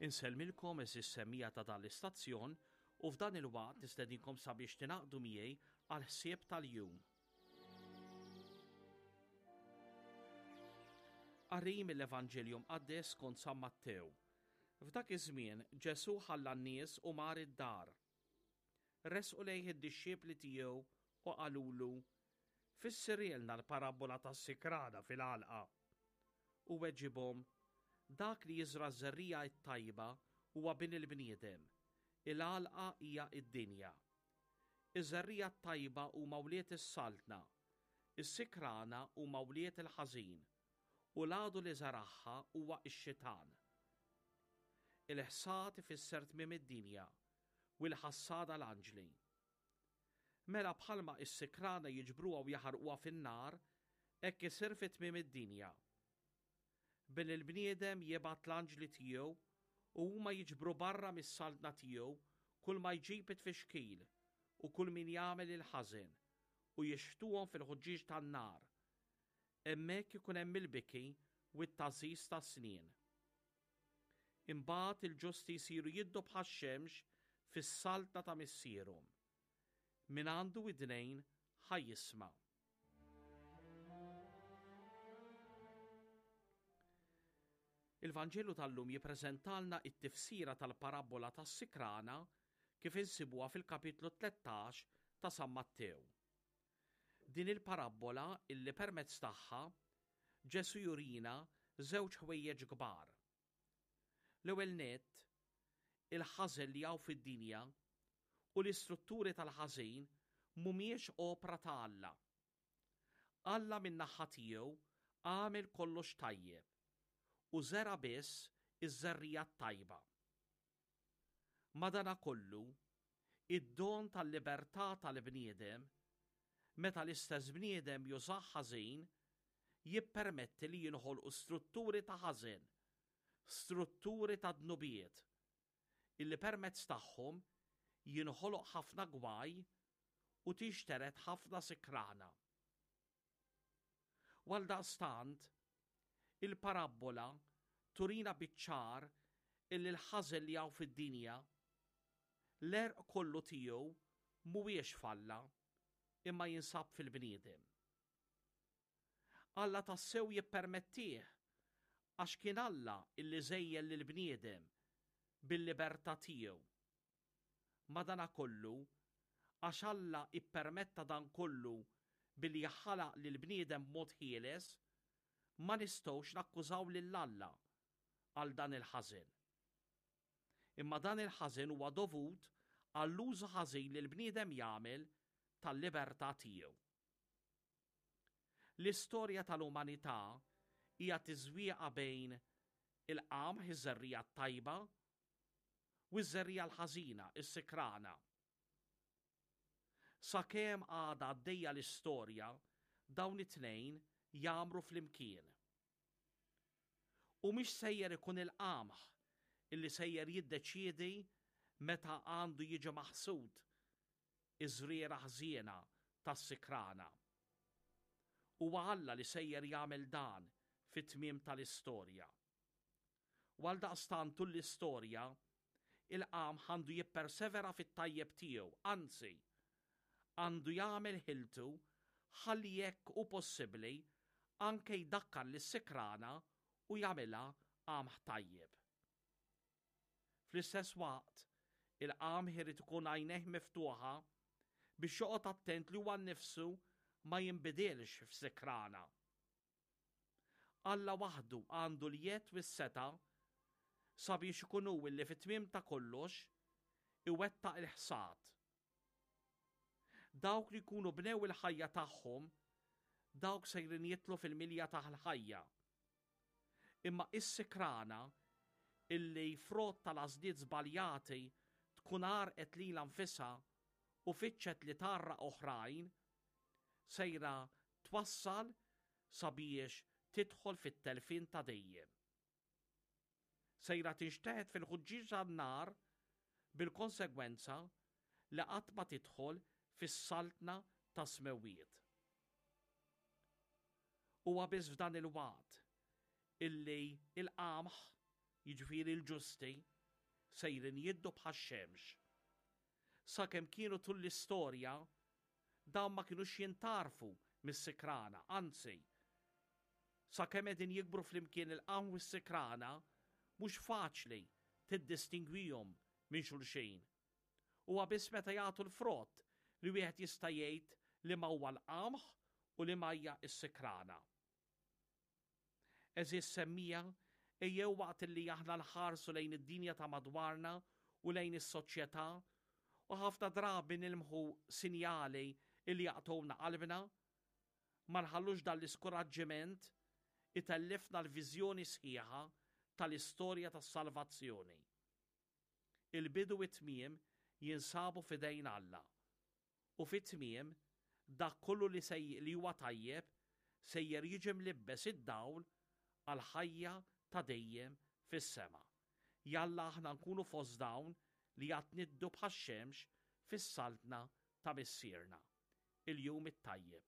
Insellmilkom għeżież semmiegħa ta' dan l-istazzjon u f'dan il-waqt nistedinkom sabiex tingħaqdu miegħi għall-ħsieb tal-jum. Qari mill-Evanġelju Mqaddes skont San Mattew. F'dak iż-żmien Ġesù ħalla n-nies u mar id-dar. Resqu lejh id-dixxipli tiegħu u qalulu, Fissirielna l-parabbola tas-sikrana fil-għalqa. U weġibhom, Dak li jiżra' ż-żerriegħa t-tajba huwa Bin il-bniedem, il-għalqa hija d-dinja. Iż-żerriegħa t-tajba huma wlied is-saltna, is-sikrana huma wlied il-ħażin, u l-għadu li żeragħha huwa x-xitan. Il-ħsad ifisser tmiem id-dinja, u l-ħassada l-anġli. Mela bħalma s-sikrana jiġbruha u jaħarquha fin-nar, hekk isir fi tmiem id-dinja. Bin il-bniedem jibgħat l-anġli tiegħu u huma jiġbru barra mis-saltna tiegħu kull ma jġib it-tfixkil u kull min jagħmel il-ħażen, u jixħtuhom fil-ħuġġieġ tan-nar. Hemmhekk ikun hemm il-biki u t-tgħażiż tas-snien. Imbagħad il-ġusti jsiru jiddu bħax-xemx fis-saltna ta' Missierhom. Min għandu widnejn ħa jisma'. Il-Vanġelu tal-lum jippreżentalna t-tifsira tal-parabbola tas-sikrana kif insibuha fil-kapitlu 13 ta' San Mattew. Din il-parabbola illi permezz tagħha Ġesù jurina żewġ ħwejjeġ kbar. L-ewwel nett, il-ħażen li hawn fid-dinja u l-istrutturi tal-ħażin mhumiex opra ta' Alla. Alla min-naħa tiegħu għamel kollox tajjeb u żera' biss iż-żerriegħa t-tajba. Madanakollu, id-don tal-libertà tal-bniedem, meta l-istess bniedem jużah ħażin, jippermetti li jinħolqu strutturi ta' ħażen, strutturi ta' dnubiet, illi permezz tagħhom jinħoloq ħafna gwaj u tinxtered ħafna sikrana. U għaldaqstant, il-parabbola turina biċ-ċar illi l-ħażen li hawn fid-dinja, l-għerq kollu tiegħu mhuwiex f'Alla, imma jinsab fil-bniedem. Alla tassew jippermettih għax kien Alla illi żejjen lill-bniedem bil-libertà tiegħu. Madanakollu, għax Alla ippermetta dan kollu billi ħalaq lill-bniedem b'mod ħieles, ma nistgħux nakkużaw lil Alla għal dan il-ħażen. Imma dan il-ħażen huwa dovut għall-użu ħażin li l-bniedem jagħmel tal-libertà tiegħu. L-istorja tal-umanità hija tiżwieqa bejn il-qamħ, iż-żerriegħa t-tajba, u ż-żerriegħa l-ħażina, is-sikrana. Sakemm għadha għaddejja l-istorja, dawn it-tnejn jgħammru flimkien. U mhix sejjer ikun il-qamħ illi sejjer jiddeċiedi meta għandu jiġi maħsud iż-żrieragħ ħżiena tas-sikrana. Huwa Alla li sejjer jagħmel dan fit-tmiem tal-istorja. U għaldaqstant tul l-istorja, il-qamħ għandu jippersevera fit-tajjeb tiegħu, anzi, għandu jagħmel ħiltu ħalli jekk hu possibbli anke jdakkar lis-sikrana u jagħmilha qamħ tajjeb. Fl-istess waqt, il-qamħ irid ikun għajnejh miftuħa biex joqgħod attent li huwa nnifsu ma jinbidilx f'sikrana. Alla waħdu għandu l-jedd u s-setgħa sabiex ikun hu li fit-tmiem ta' kollox iwettaq il-ħsad. Dawk li jkunu bnew il-ħajja tagħhom, dawk sejrin jidħlu fil-milja tal-ħajja. Imma is-sikrana illi frott tal-għażliet żbaljati tkun għarqet lilha nfisha u fittxet li tgħarraq oħrajn, sejra twassal sabiex tidħol fit-telfien ta' dejjem. Sejra tinxteħet fil-ħuġġieġ tan-nar bil-konsegwenza li qatt ma tidħol fis-saltna tas-smewwiet. Huwa biss f'dan il-waqt illi l-qamħ jiġifieri l-ġusti, sejrin jiddu bħax-xemx. Sakemm kienu tul l-istorja, dawn ma kinux jintgħarfu mis-sikrana, anzi, sakemm qegħdin jikbru flimkien il-qamħ u s-sikrana, mhux faċli tiddistingwihom minn xulxin. Huwa biss meta jagħtu l-frott li wieħed jista' jgħid liema huwa l-qamħ u liema hija s-sikrana. Għeżież semmiegħa, ejjew waqt li aħna nħarsu lejn id-dinja ta' madwarna u lejn is-soċjetà u ħafna drabi nilmħu sinjali li jaqtgħulna qalbna, ma nħallux dan l-iskuraġġiment itellifna l-viżjoni sħiħa tal-istorja tas-salvazzjoni. Il-bidu u t-tmiem jinsabu f'idejn Alla. U fit-tmiem, dak kollu li se li huwa tajjeb sejjer jiġi mlibbes id-dawl għall-ħajja ta' dejjem fis-sema. Jalla aħna nkunu fost dawn li għad niddu bħax-xemx fis-saltna ta' Missierna. Il-jum it-tajjeb.